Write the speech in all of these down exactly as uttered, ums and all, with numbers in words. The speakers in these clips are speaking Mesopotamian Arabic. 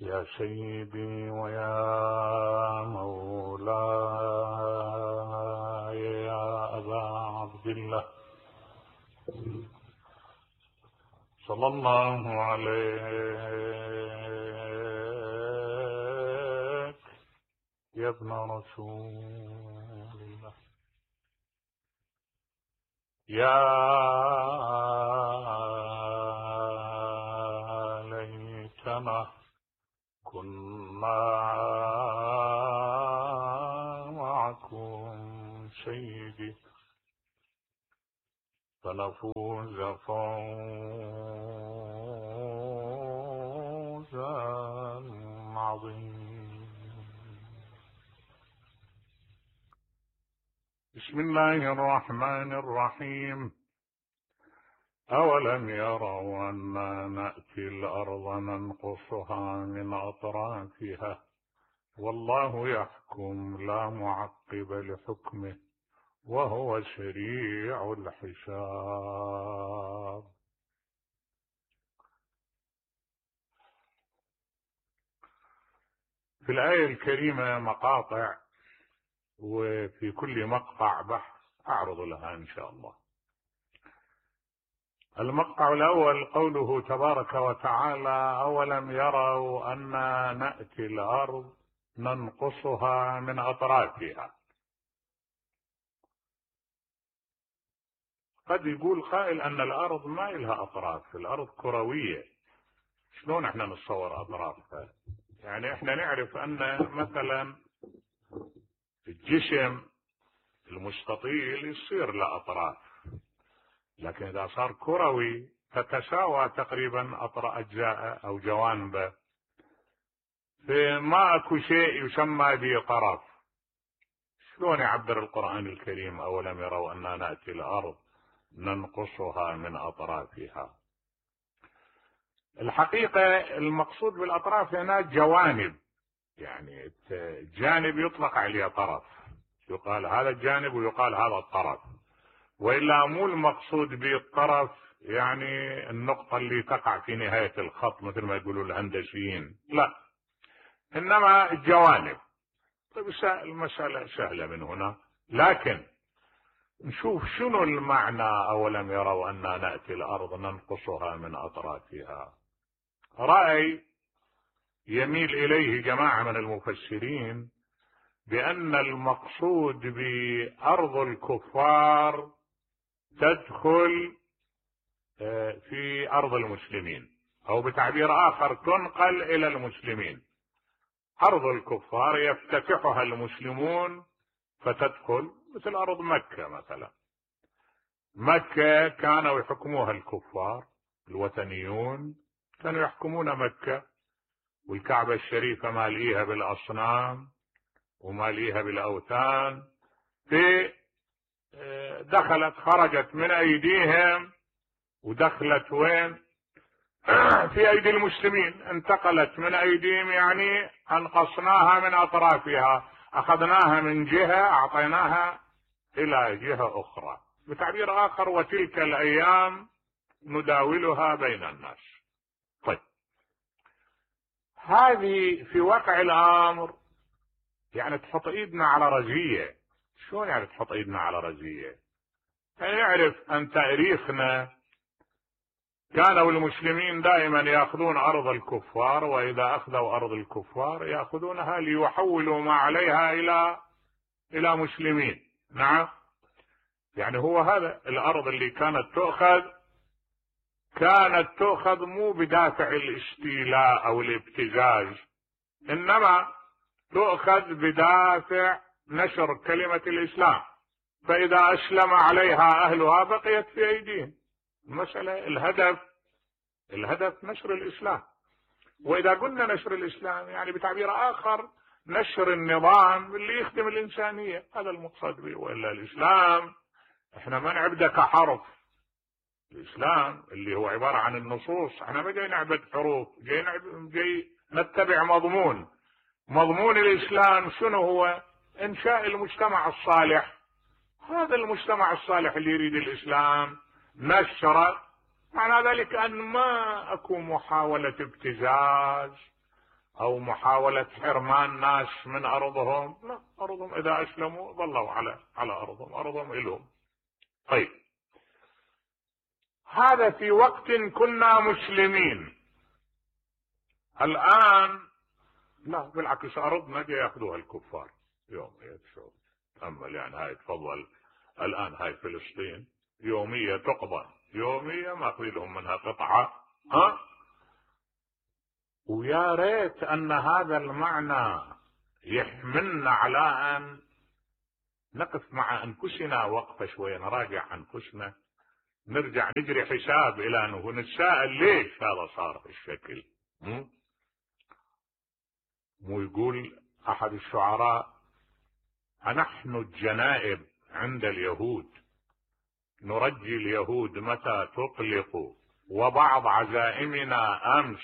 يا سيدي ويا مولاي يا أبا عبد الله صلى الله عليك يا ابن رسول الله. يا ليتنا كنا معكم سيدي فنفوز فوزا عظيما. بسم الله الرحمن الرحيم. أولم يروا أنا نأتي الأرض ننقصها من أطرافها والله يحكم لا معقب لحكمه وهو سريع الحساب. في الآية الكريمة مقاطع، وفي كل مقطع بحث أعرض لها إن شاء الله. المقطع الأول قوله تبارك وتعالى: أولم يروا أنا نأتي الأرض ننقصها من أطرافها. قد يقول قائل أن الأرض ما إلها أطراف، الأرض كروية، شلون احنا نتصور أطرافها؟ يعني احنا نعرف أن مثلا الجسم المستطيل يصير له أطراف، لكن إذا صار كروي تتساوى تقريبا أطراف أجزاء أو جوانبه، فما أكو شيء يسمى به طرف. شلون يعبر القرآن الكريم أولم يروا أننا نأتي الأرض ننقصها من أطرافها؟ الحقيقة المقصود بالأطراف هنا جوانب، يعني الجانب يطلق عليه طرف، يقال هذا الجانب ويقال هذا الطرف، وإلا مو المقصود بالطرف يعني النقطة اللي تقع في نهاية الخط مثل ما يقولوا الهندسيين، لا، إنما الجوانب. طيب المسألة سهلة من هنا، لكن نشوف شنو المعنى أولم يروا أننا نأتي الأرض ننقصها من أطرافها. رأي يميل إليه جماعة من المفسرين بأن المقصود بأرض الكفار تدخل في أرض المسلمين، أو بتعبير آخر تنقل إلى المسلمين. أرض الكفار يفتتحها المسلمون فتدخل، مثل أرض مكة مثلا. مكة كانوا يحكموها الكفار الوثنيون، كانوا يحكمون مكة، والكعبة الشريفة ماليها بالأصنام وماليها بالأوثان، في دخلت خرجت من أيديهم ودخلت وين؟ في أيدي المسلمين، انتقلت من أيديهم، يعني أنقصناها من أطرافها، أخذناها من جهة أعطيناها إلى جهة أخرى. بتعبير آخر: وتلك الأيام نداولها بين الناس. طيب، هذه في واقع الأمر يعني تحط إيدنا على رزية. شلون يعني تحط إيدنا على رزية؟ يعني نعرف أن تاريخنا كانوا المسلمين دائما يأخذون أرض الكفار، وإذا أخذوا أرض الكفار يأخذونها ليحولوا ما عليها إلى إلى مسلمين. نعم، يعني هو هذا الأرض اللي كانت تؤخذ، كانت تؤخذ مو بدافع الاستيلاء أو الابتزاز، إنما تؤخذ بدافع نشر كلمة الإسلام، فإذا أسلم عليها أهلها بقيت في أيديهم. المسألة الهدف الهدف نشر الإسلام، وإذا قلنا نشر الإسلام يعني بتعبير آخر نشر النظام اللي يخدم الإنسانية، هذا المقصد به. وإلا الإسلام احنا ما نعبده كحرف، الإسلام اللي هو عبارة عن النصوص، احنا ما جاي نعبد حروف، جاي, نعبد جاي نتبع مضمون. مضمون الإسلام شنو هو؟ إنشاء المجتمع الصالح. هذا المجتمع الصالح اللي يريد الإسلام نشره، معنى ذلك أن ما أكو محاولة ابتزاز او محاولة حرمان ناس من ارضهم، لا، ارضهم اذا اسلموا ظلوا على على ارضهم، ارضهم الهم. طيب، هذا في وقت كنا مسلمين. الان لا، بالعكس، ارضنا جاي ياخذوها الكفار يوميا. شوف تأمل يعني، هاي تفضل الان هاي فلسطين يومية تقضى، يومية ماخذين لهم منها قطعة. ها، ويا ريت ان هذا المعنى يحملنا على ان نقف مع انفسنا وقفة شوية، نراجع انفسنا، نرجع نجري حساب الى انه ونتساءل ليش هذا صار بالشكل. مو يقول احد الشعراء: أنحن الجنائب عند اليهود، نرجي اليهود متى تطلق، وبعض عزائمنا أمس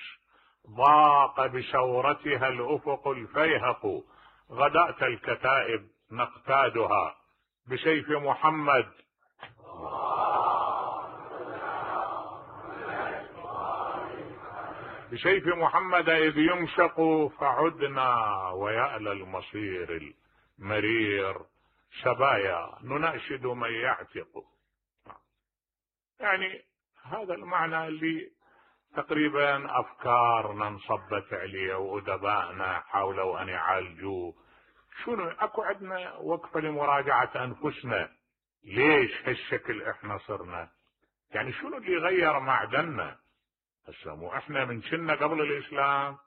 ضاق بشورتها الأفق الفيهق، غداة الكتائب نقتادها بسيف محمد بسيف محمد إذ يمشق، فعدنا ويألى المصير المرير سبايا نناشد من يعتق. يعني هذا المعنى اللي تقريبا أفكارنا انصبت عليه وأدبائنا حاولوا أن يعالجوه. شنو أكو عندنا وقفة لمراجعة أنفسنا، ليش هالشكل إحنا صرنا؟ يعني شنو اللي غير معدننا؟ هسه مو إحنا من كنا قبل الإسلام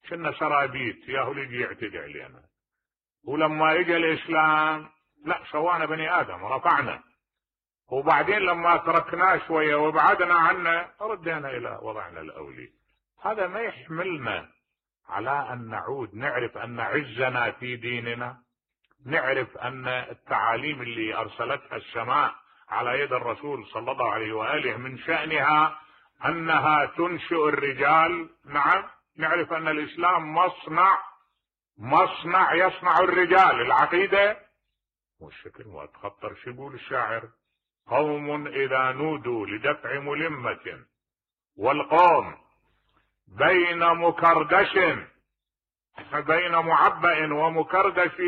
كنا سرابيت ياهو اللي يجي يعتدي علينا، ولما اجى الإسلام لا، سوانا بني آدم، رفعنا، وبعدين لما تركناه شوية وابعدنا عنه ردينا إلى وضعنا الأولي. هذا ما يحملنا على أن نعود نعرف أن عزنا في ديننا، نعرف أن التعاليم اللي أرسلتها السماء على يد الرسول صلى الله عليه وآله من شأنها أنها تنشئ الرجال. نعم، نعرف أن الإسلام مصنع مصنع يصنع الرجال. العقيدة والشكل ما تخطر. شو يقول الشاعر؟ قوم إذا نودوا لدفع ملمة، والقوم بين مكردش بين معبأ ومكردش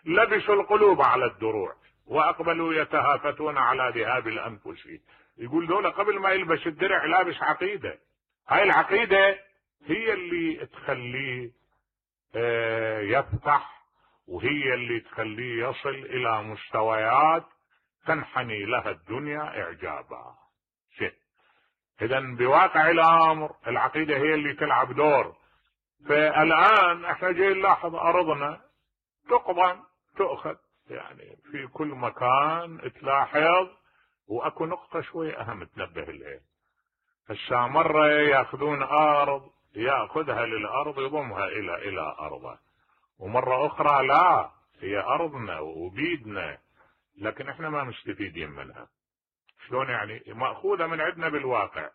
لبسوا القلوب على الدروع، وأقبلوا يتهافتون على ذهاب الأنفس. يقول دولة قبل ما يلبس الدرع لابس عقيدة. هاي العقيدة هي اللي تخليه يفتح، وهي اللي تخليه يصل إلى مستويات تنحني لها الدنيا إعجابا. شيء إذا بواقع الأمر العقيدة هي اللي تلعب دور. فالآن احنا جاي نلاحظ أرضنا تقضى تؤخذ، يعني في كل مكان تلاحظ. وأكو نقطة شوي أهم تنبه إليها. هسه مرة يأخذون أرض يأخذها للأرض يضمها إلى إلى أرضه، ومرة أخرى لا، هي أرضنا وبيدنا لكن احنا ما مستفيدين منها. شلون يعني؟ مأخوذة من عندنا بالواقع.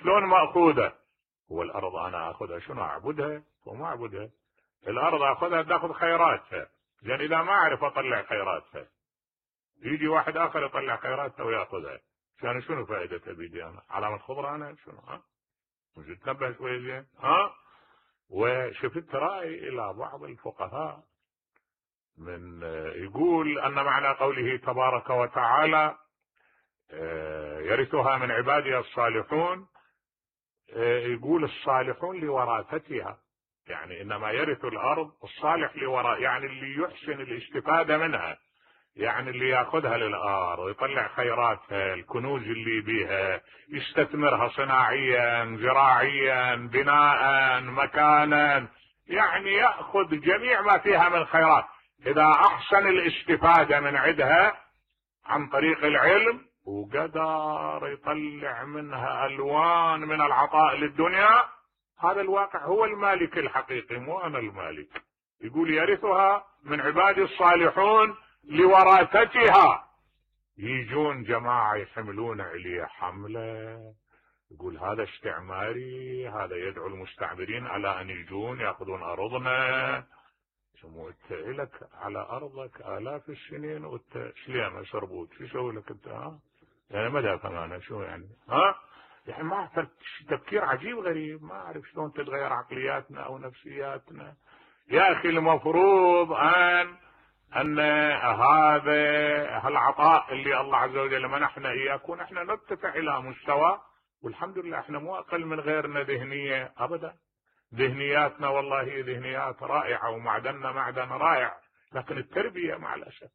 شلون مأخوذة؟ هو الأرض أنا أخذها شنو أعبدها؟ وما أعبدها. الأرض أخذها تأخذ خيراتها، لأن إذا ما أعرف أطلع خيراتها يجي واحد آخر يطلع خيراتها ويأخذها، كان شنو فائدتها بيدي أنا؟ علامة خضراء أنا شنو؟ ها؟ مش تنبه شوي زين؟ ها؟ وشفت رأي إلى بعض الفقهاء من يقول أن معنى قوله تبارك وتعالى يرثها من عبادي الصالحون، يقول الصالحون لوراثتها، يعني إنما يرث الأرض الصالح لوراء، يعني اللي يحسن الاستفادة منها، يعني اللي ياخذها للأرض ويطلع خيراتها، الكنوز اللي بيها، يستثمرها صناعيا زراعيا بناء مكانا، يعني يأخذ جميع ما فيها من خيرات. إذا أحسن الاستفادة من عندها عن طريق العلم وقدر يطلع منها ألوان من العطاء للدنيا، هذا الواقع هو المالك الحقيقي، مو أنا المالك. يقول يرثها من عبادي الصالحون لوراثتها. يجون جماعة يحملون عليه حملة، يقول هذا استعماري، هذا يدعو المستعمرين على أن يجون يأخذون أرضنا. شو انت لك على أرضك آلاف السنين وانت شليمة شربوت، شو يسوي لك انت؟ ها يعني ماذا فهمنا شو يعني؟ ها يعني ما تفكير عجيب غريب، ما اعرف شلون تتغير عقلياتنا او نفسياتنا. يا اخي المفروض ان ان هذا هالعطاء اللي الله عز وجل منحنا اياه ونحن نرتفع الى مستوى، والحمد لله احنا مو اقل من غيرنا ذهنيه ابدا. ذهنياتنا والله هي ذهنيات رائعه ومعدننا معدن رائع، لكن التربيه مع الاسف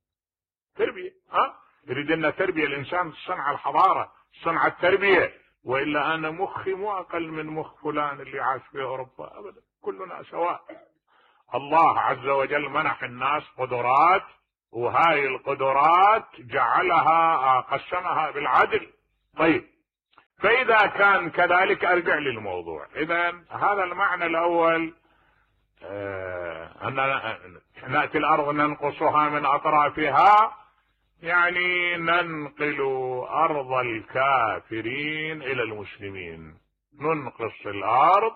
تربيه ها يريد لنا تربيه الانسان صنع الحضاره صنع التربيه، والا انا مخي مو اقل من مخ فلان اللي عاش في اوروبا ابدا، كلنا سواء. الله عز وجل منح الناس قدرات، وهاي القدرات جعلها قسمها بالعدل. طيب فاذا كان كذلك ارجع للموضوع. اذا هذا المعنى الاول، آه ان ناتي الارض ننقصها من اطرافها، يعني ننقل ارض الكافرين الى المسلمين، ننقص الارض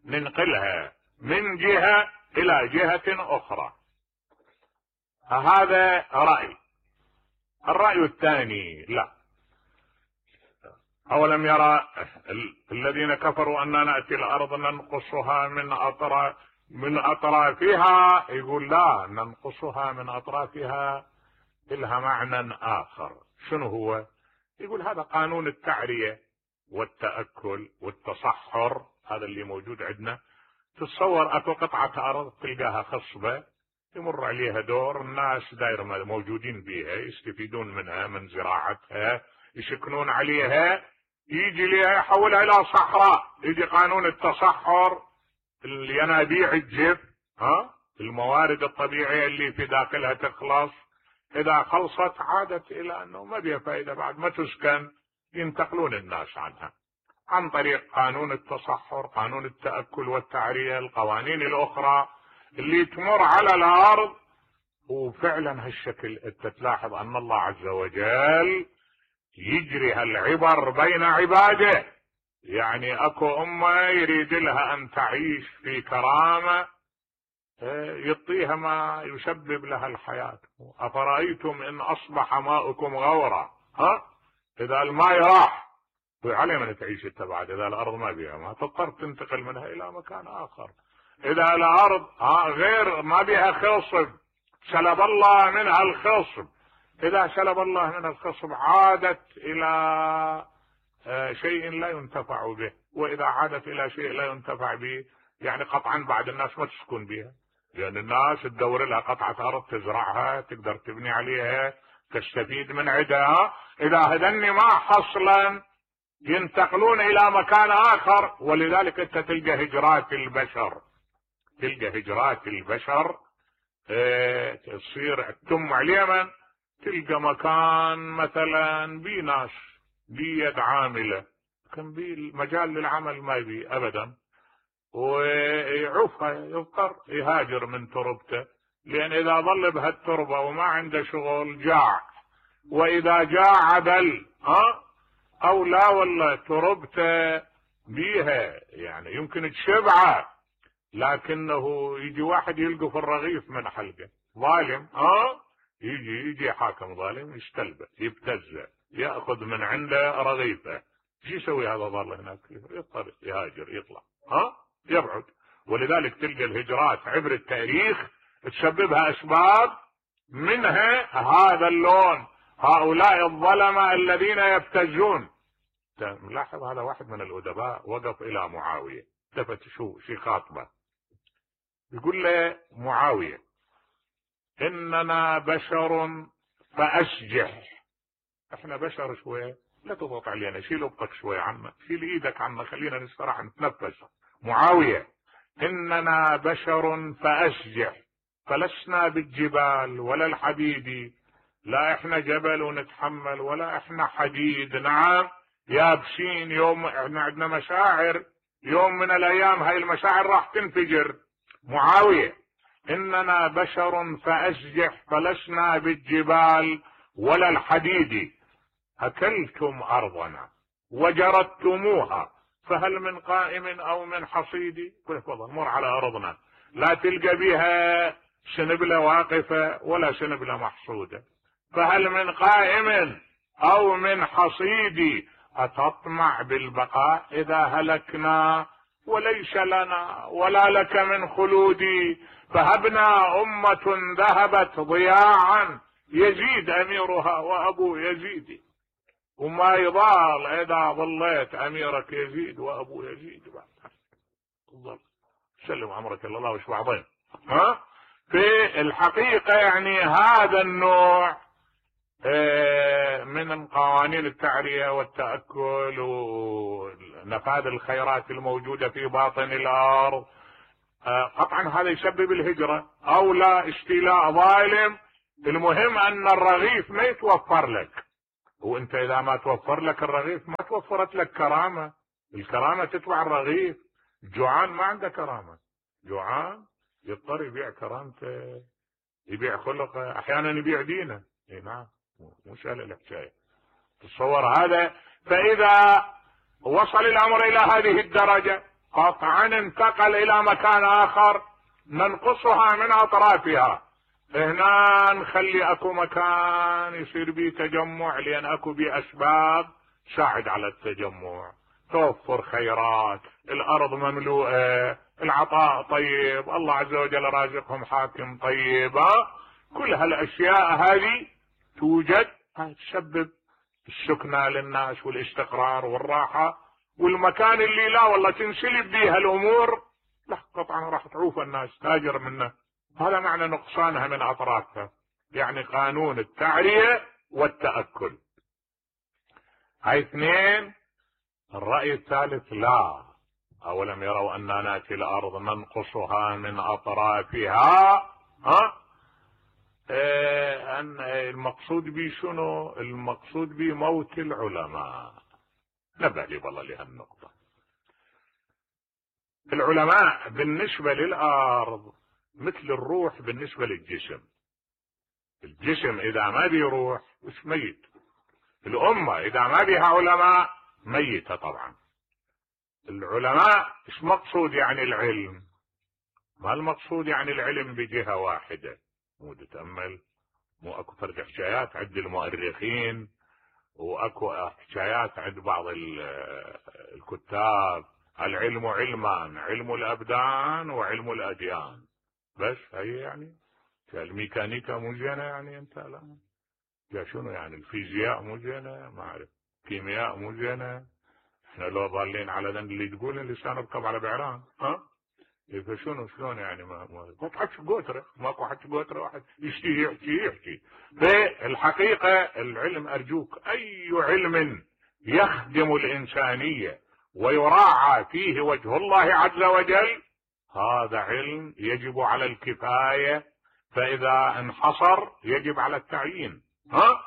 ننقلها من جهة الى جهة اخرى. هذا رأي. الرأي الثاني لا، اولم يرى الذين كفروا ان نأتي الارض ننقصها من اطراف من اطرافها، يقول لا، ننقصها من اطرافها لها معنى اخر. شنو هو؟ يقول هذا قانون التعرية والتأكل والتصحر، هذا اللي موجود عندنا. تتصور اكو قطعة ارض تلقاها خصبة يمر عليها دور، الناس داير موجودين بيها يستفيدون منها من زراعتها يسكنون عليها، يجي ليها يحولها الى صحراء. يجي قانون التصحر، الينابيع تجف، ها الموارد الطبيعية اللي في داخلها تخلص، اذا خلصت عادت الى انه ما بيها فائدة بعد ما تسكن، ينتقلون الناس عنها عن طريق قانون التصحر، قانون التأكل والتعرية، القوانين الاخرى اللي تمر على الارض. وفعلا هالشكل انت تلاحظ ان الله عز وجل يجري هالعبر بين عباده. يعني اكو امة يريد لها ان تعيش في كرامة، يعطيها ما يسبب لها الحياة. افرأيتم ان اصبح ماؤكم غورا، ها اذا الماء راح عليه من تعيش انت بعد، اذا الارض ما بيها ما تضطر تنتقل منها الى مكان اخر. اذا الارض ها غير ما بيها خصب، سلب الله منها الخصب، اذا سلب الله منها الخصب عادت الى شيء لا ينتفع به، واذا عادت الى شيء لا ينتفع به يعني قطعا بعد الناس ما تسكن بها، لان الناس تدور لها قطعة ارض تزرعها تقدر تبني عليها تستفيد من عدها. اذا هذني ما حصلا ينتقلون الى مكان اخر. ولذلك انت تلقى هجرات البشر، تلقى هجرات البشر اه تصير تتم على اليمن، تلقى مكان مثلا بي ناس بيد عاملة، لكن بي المجال للعمل ما بي ابدا، ويعوفها يضطر يهاجر من تربته، لان اذا ظل بهالتربة وما عنده شغل جاع، واذا جاع عدل ها او لا والله تربته بيها يعني يمكن تشبعه، لكنه يجي واحد يلقى في الرغيف من حلقه ظالم، ها يجي يجي حاكم ظالم يستلبه يبتزه ياخذ من عنده رغيفه، شو يسوي هذا ظل هناك؟ يضطر يهاجر يطلع ها يبعد. ولذلك تلقى الهجرات عبر التاريخ تسببها اسباب، منها هذا اللون، هؤلاء الظلمة الذين يبتزون. لاحظ هذا واحد من الأدباء وقف إلى معاوية، التفت شو شي خاطبه، يقول له معاوية إننا بشر فأسجح، احنا بشر شوية لا تضغط علينا، شيل ابطك شوية عنا، شيل ايدك عنا، خلينا نستراح نتنفس. معاوية إننا بشر فأسجح فلسنا بالجبال ولا الحديد، لا احنا جبل ونتحمل ولا احنا حديد، نعم يابسين، يوم احنا عندنا مشاعر، يوم من الايام هاي المشاعر راح تنفجر. معاوية اننا بشر فاسجح فلسنا بالجبال ولا الحديد، اكلتم ارضنا وجردتموها فهل من قائم او من حصيد. تفضل مر على ارضنا لا تلقى بها سنبلة واقفة ولا سنبلة محصودة، فهل من قائم او من حصيد أتطمع بالبقاء إذا هلكنا وليس لنا ولا لك من خلودي، فهبنا أمة ذهبت ضياعا يزيد أميرها وأبو يزيد، وما يضال إذا ظليت أميرك يزيد وأبو يزيد. بعد سلم أمرك الله وش بعضين. ها في الحقيقة يعني هذا النوع من قوانين التعرية والتأكل ونفاذ الخيرات الموجودة في باطن الأرض قطعا هذا يسبب الهجرة أو لا استيلاء ظالم. المهم أن الرغيف ما يتوفر لك، وانت اذا ما توفر لك الرغيف ما توفرت لك كرامة. الكرامة تتبع الرغيف. جوعان ما عنده كرامة، جوعان يضطر يبيع كرامته، يبيع خلقه، احيانا يبيع دينه. اي نعم، مو سهل الحكاية، تصور هذا. فاذا وصل الامر الى هذه الدرجة قطعا انتقل الى مكان اخر ننقصها من اطرافها. هنا نخلي اكو مكان يصير بيه تجمع، لان اكو بيه اسباب تساعد على التجمع، توفر خيرات، الارض مملوءة، العطاء طيب، الله عز وجل رازقهم حاكم طيب. كل هالاشياء هذه توجد تسبب السكنة للناس والاستقرار والراحة. والمكان اللي لا والله تنسلب بيها الامور لا قطعا راح تعوف الناس تاجر منه. هذا معنى نقصانها من اطرافها، يعني قانون التعرية والتأكل. هاي اثنين. الرأي الثالث لا، اولم يروا اننا ناتي الارض ننقصها من اطرافها. ها اه ان المقصود بي شنو؟ المقصود بي موت العلماء. نبه لي والله لهالنقطة. العلماء بالنسبة للارض مثل الروح بالنسبة للجسم. الجسم اذا ما بيه روح مش ميت. الامة اذا ما بيها علماء ميتة طبعا. العلماء ايش مقصود يعني العلم؟ ما المقصود يعني العلم بجهة واحدة. مو تتأمل، مو اكو فرق حكايات عند المؤرخين واكو حكايات عند بعض الكتاب. العلم علمان، علم الابدان وعلم الاديان. بس هي يعني الميكانيكا مو زينة يعني انت لا يا شنو يعني الفيزياء مو زينة، ما اعرف كيمياء مو زينة. احنا لو ضالين على ذن اللي تقول اللسان اركب على بعران. ها فشنو شلون يعني ما ما تحكي قوتره، ماكو حكي قوتره واحد يشتي يحكي يحكي. بالحقيقة العلم ارجوك اي علم يخدم الانسانية ويراعى فيه وجه الله عز وجل هذا علم يجب على الكفاية، فاذا انحصر يجب على التعيين. ها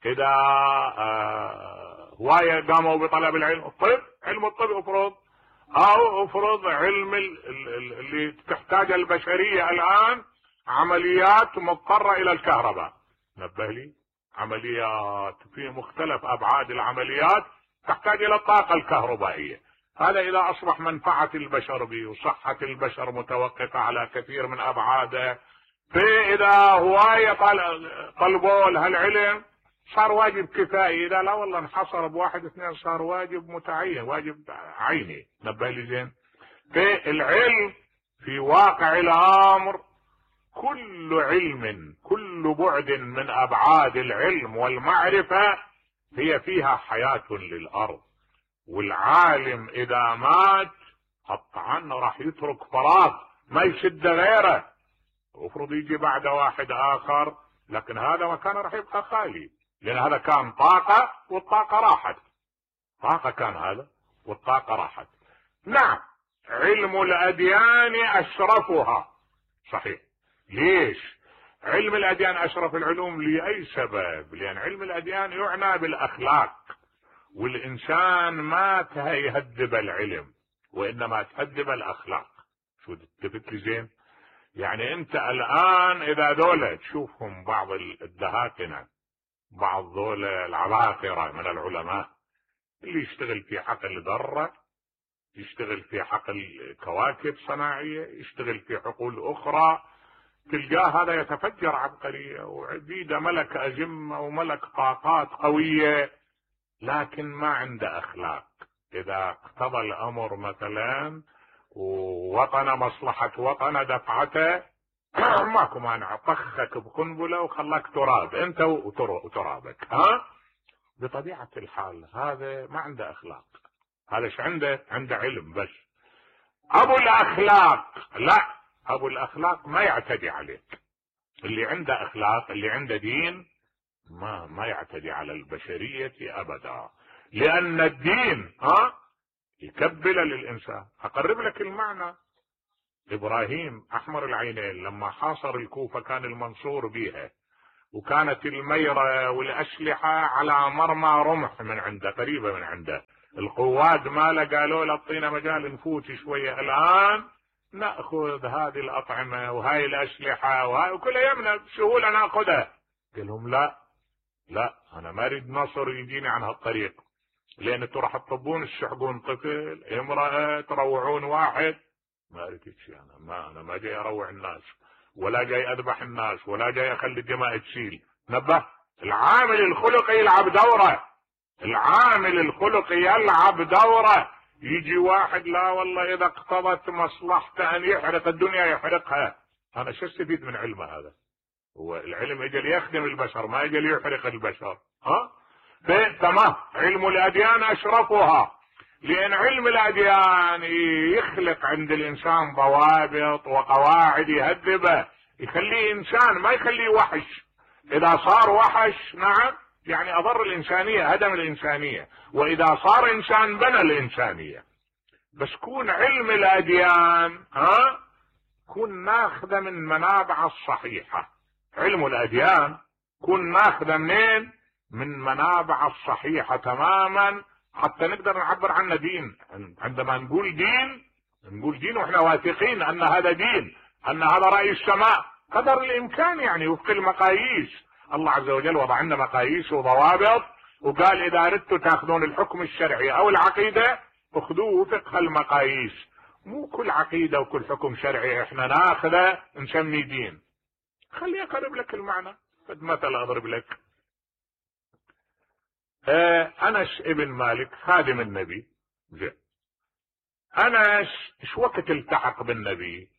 اذا آه هواية قاموا بطلب العلم، الطب علم الطب افرض، او افرض علم اللي تحتاج البشرية الان عمليات مضطرة الى الكهرباء. نبه لي، عمليات في مختلف ابعاد العمليات تحتاج الى الطاقة الكهربائية. هذا اذا اصبح منفعة البشر به وصحة البشر متوقفة على كثير من ابعاده. فاذا هواية طلبوا لها العلم صار واجب كفائي، اذا لا والله انحصر بواحد اثنين صار واجب متعين، واجب عيني. نبه لي زين. فالعلم في واقع الامر كل علم، كل بعد من ابعاد العلم والمعرفة هي فيها حياة للارض. والعالم اذا مات قطعا راح يترك فراغ ما يشد غيره، وفرض يجي بعد واحد اخر، لكن هذا مكان راح يبقى خالي، لان هذا كان طاقة والطاقة راحت. طاقة كان هذا والطاقة راحت. نعم علم الاديان اشرفها صحيح. ليش علم الاديان اشرف العلوم؟ لاي سبب؟ لان علم الاديان يعنى بالاخلاق، والانسان ما يهذب العلم وانما تهذب الاخلاق. شو تثبت لي زين؟ يعني انت الان اذا دولة تشوفهم بعض الدهاتنة، بعض دول العباقرة من العلماء اللي يشتغل في حقل ذرة، يشتغل في حقل كواكب صناعية، يشتغل في حقول اخرى، تلقاه هذا يتفجر عبقرية وعبيدة ملك أجمة وملك طاقات قوية. لكن ما عنده اخلاق. اذا اقتضى الامر مثلا ووطن مصلحة وطنه دفعته ماكو مانع، طخك بقنبلة وخلاك تراب انت وترابك. ها بطبيعة الحال هذا ما عنده اخلاق. هذا ايش عنده؟ عنده علم بس. ابو الاخلاق لا، ابو الاخلاق ما يعتدي عليك. اللي عنده اخلاق، اللي عنده دين، ما ما يعتدي على البشرية ابدا، لان الدين ها يكبل للانسان. اقرب لك المعنى. ابراهيم احمر العينين لما حاصر الكوفة كان المنصور بها، وكانت الميرة والاسلحة على مرمى رمح من عنده، قريبة من عنده. القواد ماله قالوا له اعطينا مجال نفوت شوية، الان ناخذ هذه الاطعمة وهاي الاسلحة وهاي وكلها يمنا بسهولة ناخذها. قال لهم لا لا، انا ما اريد نصر يجيني عن هالطريق، لان انتوا راح تطبون تشحقون طفل امرأة تروعون واحد. ما اريد شيء، انا ما انا ما جاي اروع الناس ولا جاي اذبح الناس ولا جاي اخلي الدماء تسيل. نبه، العامل الخلقي يلعب دوره، العامل الخلقي يلعب دوره. يجي واحد لا والله اذا اقتضت مصلحته ان يحرق الدنيا يحرقها. انا شو استفيد من علمه هذا؟ هو العلم اجى ليخدم البشر ما اجى ليحرق البشر. ها تمام. علم الاديان اشرفها، لان علم الاديان يخلق عند الانسان ضوابط وقواعد يهذبه، يخليه انسان ما يخليه وحش. اذا صار وحش نعم يعني اضر الانسانية، هدم الانسانية، واذا صار انسان بنى الانسانية. بس كون علم الاديان ها كون ناخذه من منابع الصحيحة. علم الاديان كون ناخذه منين؟ من منابع الصحيحة تماما، حتى نقدر نعبر عنه دين. عندما نقول دين نقول دين واحنا واثقين ان هذا دين، ان هذا رأي السماء قدر الامكان، يعني وفق المقاييس. الله عز وجل وضع عندنا مقاييس وضوابط، وقال اذا اردتوا تاخذون الحكم الشرعي او العقيدة اخذوه وفق المقاييس. مو كل عقيدة وكل حكم شرعي احنا ناخذه نسمي دين. خلي اقرب لك المعنى. فد مثل اضرب لك. آه انس ابن مالك خادم النبي، زين. انس ايش وقت التحق بالنبي؟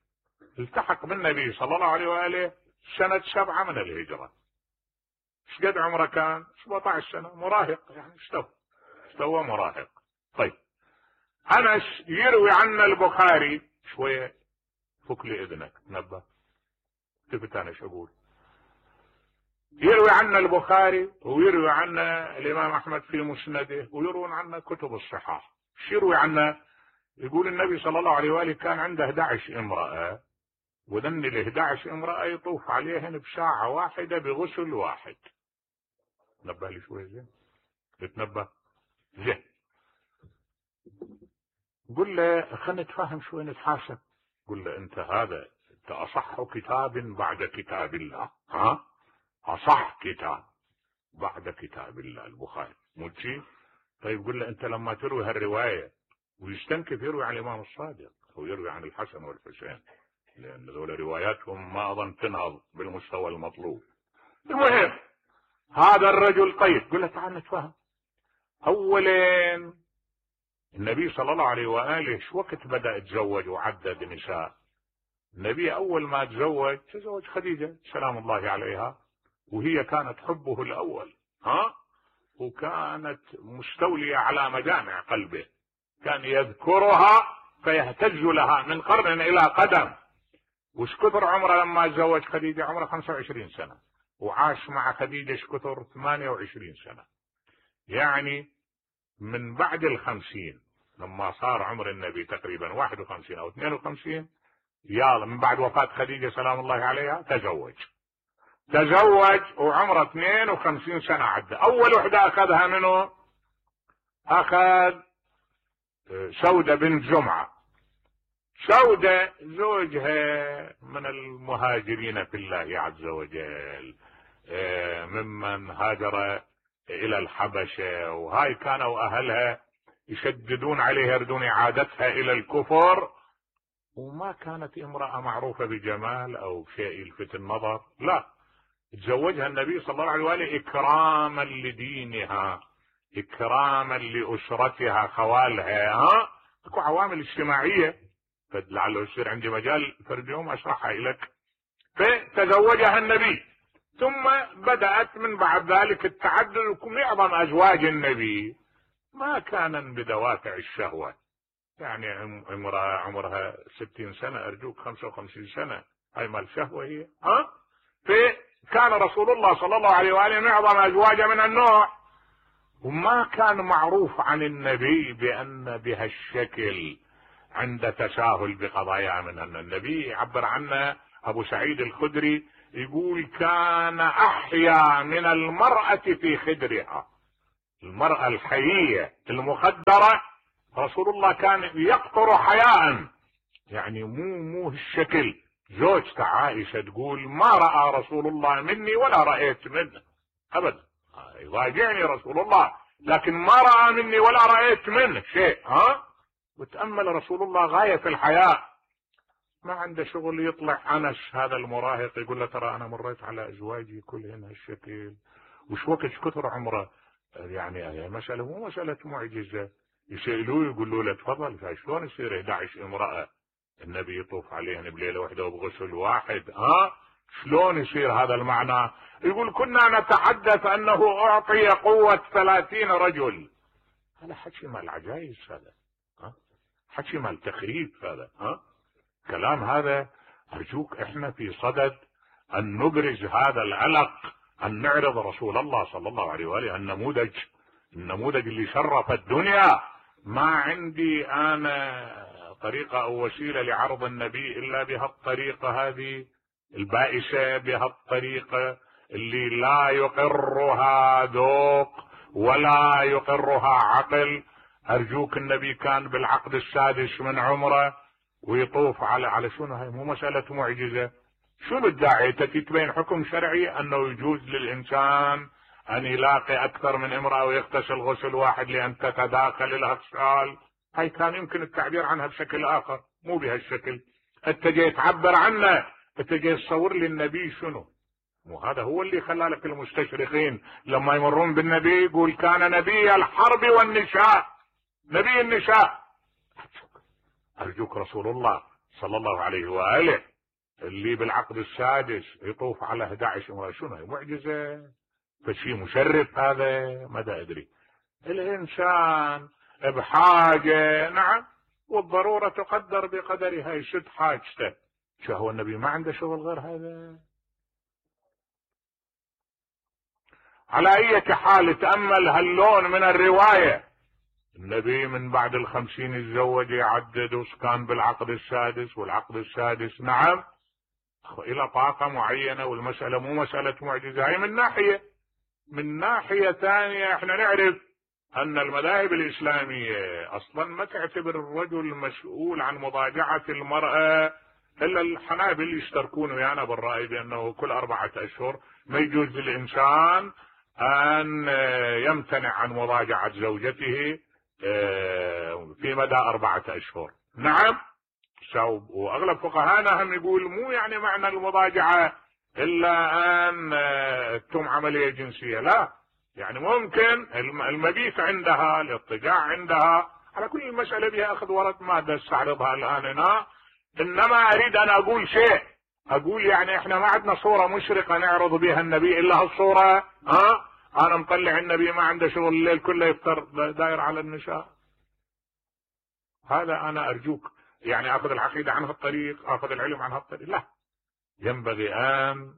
التحق بالنبي صلى الله عليه واله سنة سبعة من الهجرة. ايش قد عمره كان؟ سبعة عشر سنة، مراهق يعني. استوى استوى مراهق. طيب انس يروي عنا البخاري شوية، فك لي اذنك تنبه تبت انا شو اقول. يروي عنا البخاري ويروي عنا الامام احمد في مسنده ويروون عنا كتب الصحاح. ايش يروي عنا؟ يقول النبي صلى الله عليه واله كان عنده احد عشر امرأة، وذن ال احد عشر امرأة يطوف عليهن بساعة واحدة بغسل واحد. نبه لي شوي زين، تتنبه زين. قل له خلينا نتفاهم شوي نتحاسب. قل له انت هذا انت اصح كتاب بعد كتاب الله، ها اصح كتاب بعد كتاب الله البخاري، مو شيء؟ طيب قل له انت لما تروي هالرواية ويستنكف يروي عن الامام الصادق او يروي عن الحسن والحسين، لان ذول رواياتهم ما اظن تنهض بالمستوى المطلوب. المهم هذا الرجل. طيب قل له تعال نتفاهم. اولا النبي صلى الله عليه واله شو وقت بدأ يتزوج وعدد نساء؟ النبي اول ما تزوج تزوج خديجة سلام الله عليها، وهي كانت حبه الاول، ها وكانت مستولية على مجامع قلبه، كان يذكرها فيهتز لها من قرن الى قدم. وش كثر عمره لما تزوج خديجة؟ عمره خمسة وعشرين سنة، وعاش مع خديجة ايش كثر؟ ثمانية وعشرين سنة. يعني من بعد الخمسين لما صار عمر النبي تقريبا واحد وخمسين او اثنين وخمسين، يا من بعد وفاة خديجة سلام الله عليها تزوج تزوج وعمره اثنين وخمسين سنة عدى. اول وحدة اخذها منه اخذ سودة بنت جمعة. سودة زوجها من المهاجرين في الله عز وجل، ممن هاجر الى الحبشة، وهاي كانوا اهلها يشددون عليها يردون اعادتها الى الكفر، وما كانت امرأة معروفة بجمال او شيء يلفت النظر، لا تزوجها النبي صلى الله عليه وآله اكراما لدينها، اكراما لاسرتها خوالها. ها اكو عوامل اجتماعيه فلعله يصير عندي مجال فرد يوم اشرحها لك. فتزوجها النبي، ثم بدأت من بعد ذلك التعدد. معظم ازواج النبي ما كان بدوافع الشهوة، يعني امرأة عمرها ستين سنة ارجوك خمسة وخمسين سنة، هاي مال شهوة هي. ها فكان رسول الله صلى الله عليه وآله معظم ازواجه من النوع، وما كان معروف عن النبي بأن بهالشكل عند تساهل بقضايا من أن النبي يعبر عنه أبو سعيد الخدري يقول كان أحيا من المرأة في خدرها. المرأة الحيية المخدرة رسول الله كان يقطر حياء، يعني مو مو الشكل. زوجته عائشة تقول ما رأى رسول الله مني ولا رأيت منه أبدا، يضاجعني رسول الله لكن ما رأى مني ولا رأيت منه شيء. ها وتأمل رسول الله غاية في الحياء، ما عنده شغل. يطلع أنس هذا المراهق يقول له ترى أنا مريت على أزواجي كلهن هالشكل، وش وقت كثر عمره، يعني مسألة مو مسألة معجزة. يسألوه يقولوا له تفضل شلون يصير إحدى عشرة امرأة النبي يطوف عليهن بليلة واحدة وبغسل واحد؟ ها شلون يصير هذا المعنى؟ يقول كنا نتحدث أنه أعطي قوة ثلاثين رجل. هذا حكي مال عجائز، هذا ها حكي مال تخريب هذا. ها كلام هذا أرجوك احنا في صدد أن نبرز هذا العلق، أن نعرض رسول الله صلى الله عليه وآله النموذج، النموذج اللي شرف الدنيا. ما عندي أنا طريقة أو وسيلة لعرض النبي إلا بهالطريقة هذه البائسة، بهالطريقة اللي لا يقرها ذوق ولا يقرها عقل. أرجوك النبي كان بالعقد السادس من عمره ويطوف على على شنو؟ هاي مو مسألة معجزة. شنو الداعي تتبين حكم شرعي أنه يجوز للإنسان أن يلاقي أكثر من امرأة ويغتسل غسل واحد لأن تتداخل الأغسال؟ هاي كان يمكن التعبير عنها بشكل آخر، مو بهالشكل. أنت جاي تعبر عنه، أنت جاي تصور لي النبي شنو؟ مو هذا هو اللي خلى لك المستشرقين لما يمرون بالنبي يقول كان نبي الحرب والنساء، نبي النساء. أرجوك رسول الله صلى الله عليه وآله اللي بالعقد السادس يطوف على أحد عشر امرأة، شنو معجزة؟ فشي مشرف هذا؟ ماذا أدري. الإنسان بحاجة، نعم، والضرورة تقدر بقدرها، يشد حاجته. شو هو النبي ما عنده شغل غير هذا؟ على أي حال تأمل هاللون من الرواية. النبي من بعد الخمسين يتزوج يعدد، وكان بالعقد السادس، والعقد السادس نعم إلى طاقة معينة، والمسألة مو مسألة معجزة. هي من ناحية. من ناحية ثانية احنا نعرف أن المذاهب الإسلامية أصلا ما تعتبر الرجل مسؤول عن مضاجعة المرأة، إلا الحنابل يشتركون ويانا بالرأي بأنه كل أربعة أشهر ما يجوز للإنسان أن يمتنع عن مضاجعة زوجته في مدى أربعة أشهر. نعم، وأغلب فقهانا هم يقول مو يعني معنى المضاجعة إلا أن تتم عملية جنسية، لا، يعني ممكن المبيت عندها، الاضطجاع عندها، على كل المسألة بها أخذ ورد، ما استعرضها الآن هنا. إنما أريد أن أقول شيء، أقول يعني إحنا ما عندنا صورة مشرقة نعرض بها النبي إلا هالصورة. ها أنا مطلع النبي ما عنده شغل الليل كله يفطر داير على النساء. هذا أنا أرجوك يعني أخذ العقيدة عن هالطريق، أخذ العلم عن هالطريق، لا، ينبغي أن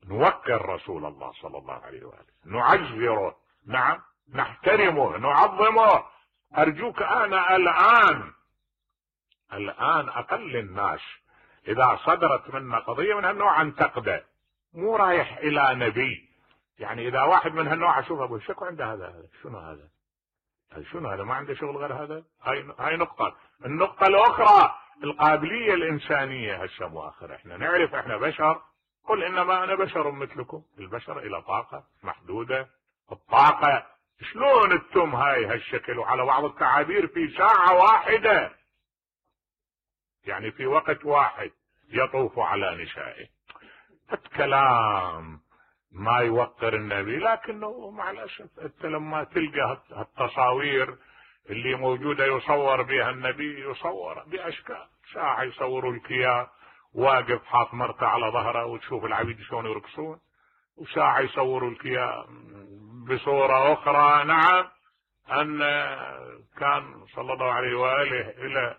نوقر رسول الله صلى الله عليه وآله، نعزره، نعم، نحترمه، نعظمه. أرجوك أنا الآن الآن أقل الناس إذا صدرت منا قضية من هالنوع أنتقده، مو رايح إلى نبي. يعني إذا واحد من هالنوع أشوف أبو شكو عنده هذا هذا شنو هذا؟ شنو هذا؟ ما عنده شغل غير هذا؟ هاي هاي نقطة. النقطة الأخرى القابلية الإنسانية. هسه مؤخر احنا نعرف احنا بشر، قل إنما أنا بشر مثلكم. البشر إلى طاقة محدودة، الطاقة شلون التم هاي هالشكل، وعلى بعض التعابير في ساعة واحدة، يعني في وقت واحد يطوف على نسائه. الكلام ما يوقر النبي، لكنه مع الأسف أنت لما تلقى هالتصاوير اللي موجودة يصور بها النبي يصور بأشكال، ساعة يصوروا لك إياه واقف حاط مرته على ظهره وتشوف العبيد شلون يرقصون، وساعة يصوروا لك إياه بصورة أخرى نعم أن كان صلى الله عليه وآله إلى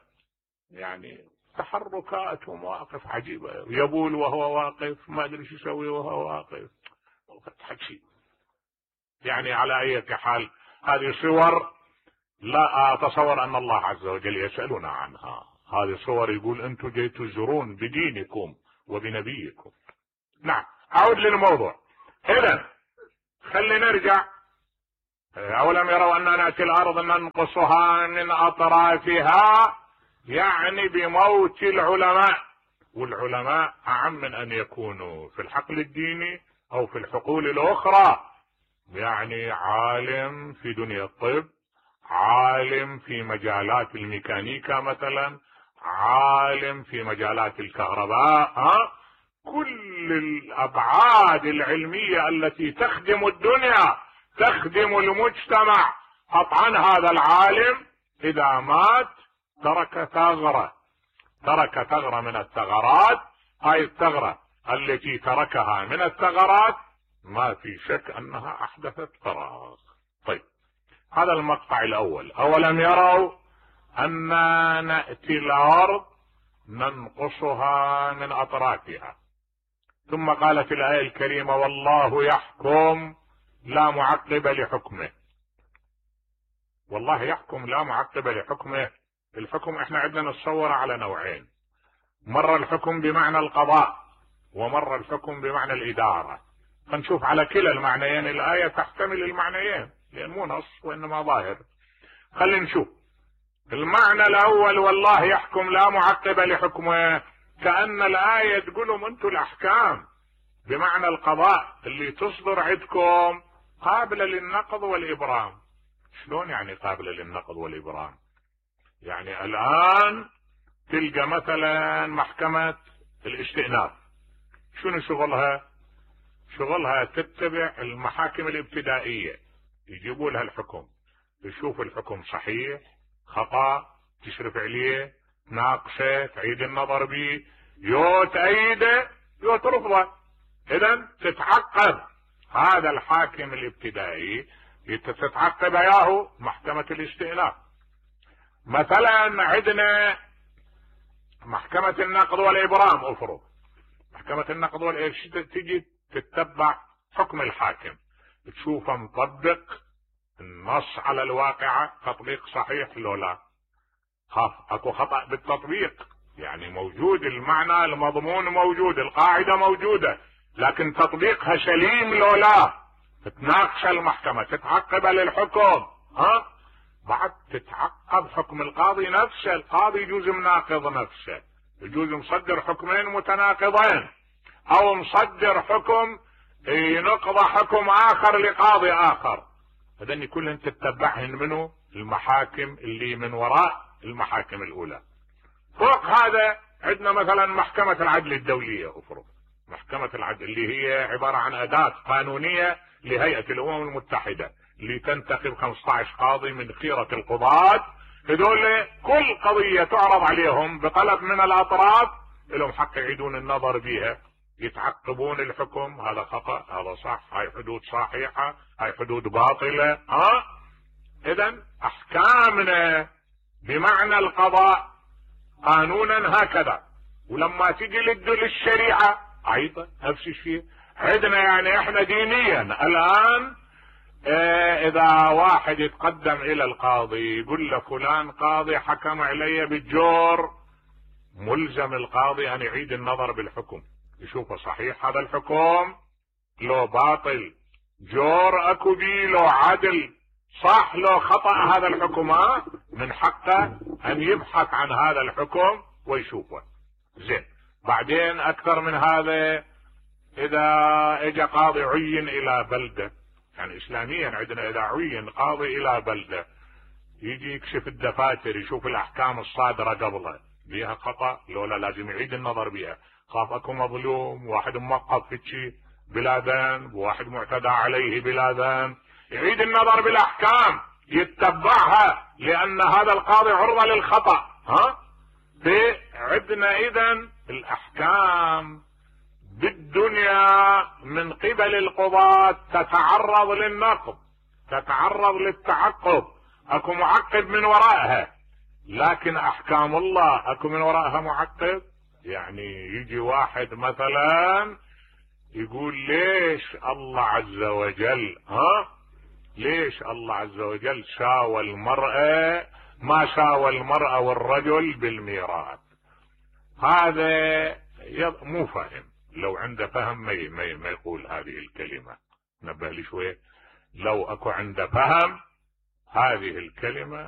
يعني تحركات ومواقف عجيبة، يبول وهو واقف، ما أدري شو يسوي وهو واقف، حكي يعني. على أي حال هذه صور لا أتصور أن الله عز وجل يسألنا عنها، هذه صور يقول أنتم جيتوا تزورون بدينكم وبنبيكم. نعم أعود للموضوع. إذن خلينا نرجع. أولم يروا أننا نأتي الأرض ننقصها من أطرافها، يعني بموت العلماء، والعلماء أعم من أن يكونوا في الحقل الديني أو في الحقول الأخرى، يعني عالم في دنيا الطب، عالم في مجالات الميكانيكا مثلا، عالم في مجالات الكهرباء، ها كل الأبعاد العلمية التي تخدم الدنيا تخدم المجتمع. قطعا هذا العالم إذا مات ترك ثغرة، ترك ثغرة من الثغرات، هاي الثغرة التي تركها من الثغرات ما في شك أنها أحدثت فراغ. طيب هذا المقطع الأول. أولم يروا أننا نأتي الأرض ننقصها من أطرافها، ثم قالت الآية الكريمة والله يحكم لا معقب لحكمه. والله يحكم لا معقب لحكمه. الحكم احنا عندنا نتصور على نوعين، مرة الحكم بمعنى القضاء ومرة الحكم بمعنى الإدارة. فنشوف على كلا المعنيين الآية تحتمل المعنيين لأن مو نص وإنما ظاهر. خلينا نشوف المعنى الأول والله يحكم لا معقب لحكمه، كأن الآية تقولهم أنتم الأحكام بمعنى القضاء اللي تصدر عندكم قابلة للنقض والإبرام. شلون يعني قابلة للنقض والإبرام؟ يعني الآن تلقى مثلا محكمة الاستئناف شنو شغلها؟ شغلها تتبع المحاكم الابتدائية، يجيبوا لها الحكم، تشوف الحكم صحيح خطأ، تشرف عليه، ناقشه، تعيد النظر به، يو تأيده يو ترفضه. إذن تتعقب هذا الحاكم الابتدائي تتعقب اياه محكمة الاستئناف. مثلا عندنا محكمة النقض والإبرام، افرض محكمة النقض والإبرام تجي تتبع حكم الحاكم، تشوفه مطبق النص على الواقعة، تطبيق صحيح لو لا، خاف اكو خطأ بالتطبيق، يعني موجود المعنى المضمون موجود، القاعدة موجودة، لكن تطبيقها سليم لو لا. تتناقش المحكمة، تتعقب للحكم، ها بعد تتعقب حكم القاضي نفسه. القاضي يجوز مناقض نفسه، يجوز مصدر حكمين متناقضين، او مصدر حكم ينقض حكم اخر لقاضي اخر. هذني كلهن تتبعهن منه المحاكم اللي من وراء المحاكم الاولى. فوق هذا عندنا مثلا محكمة العدل الدولية، افرض محكمة العدل اللي هي عبارة عن اداة قانونية لهيئة الامم المتحدة اللي تنتخب خمسة عشر قاضي من خيرة القضاة. هذول كل قضية تعرض عليهم بطلب من الاطراف لهم حق يعيدون النظر بها، يتعقبون الحكم، هذا خطأ، هذا صح، هاي حدود صحيحة، هاي حدود باطلة. ها اذا احكامنا بمعنى القضاء قانونا هكذا. ولما تجي للشريعة ايضا نفس الشيء عندنا، يعني احنا دينيا الان اه اذا واحد يتقدم الى القاضي يقول له فلان قاضي حكم علي بالجور، ملزم القاضي ان يعيد النظر بالحكم، يشوفه صحيح هذا الحكم لو باطل، جور اكو بي لو عدل، صح لو خطأ هذا الحكم، من حقه ان يبحث عن هذا الحكم ويشوفه. زين بعدين اكثر من هذا، اذا اجى قاضي عين الى بلدة، يعني اسلاميا عندنا اذا عين قاضي الى بلدة يجي يكشف الدفاتر، يشوف الاحكام الصادرة قبله بيها خطأ لولا لازم يعيد النظر بها، خاف اكو مظلوم واحد موقف في شيء بلا ذنب، واحد معتدى عليه بلا ذنب، يعيد النظر بالاحكام يتبعها، لان هذا القاضي عرضة للخطأ. ها عندنا اذا الاحكام بالدنيا من قبل القضاة تتعرض للنقض، تتعرض للتعقب، اكو معقب من ورائها. لكن احكام الله اكو من ورائها معقب؟ يعني يجي واحد مثلا يقول ليش الله عز وجل ها ليش الله عز وجل شاوى المرأة ما شاوى المرأة والرجل بالميراث؟ هذا مو فاهم. لو عنده فهم ما ما يقول هذه الكلمة. نبه لي شوية، لو اكو عنده فهم هذه الكلمة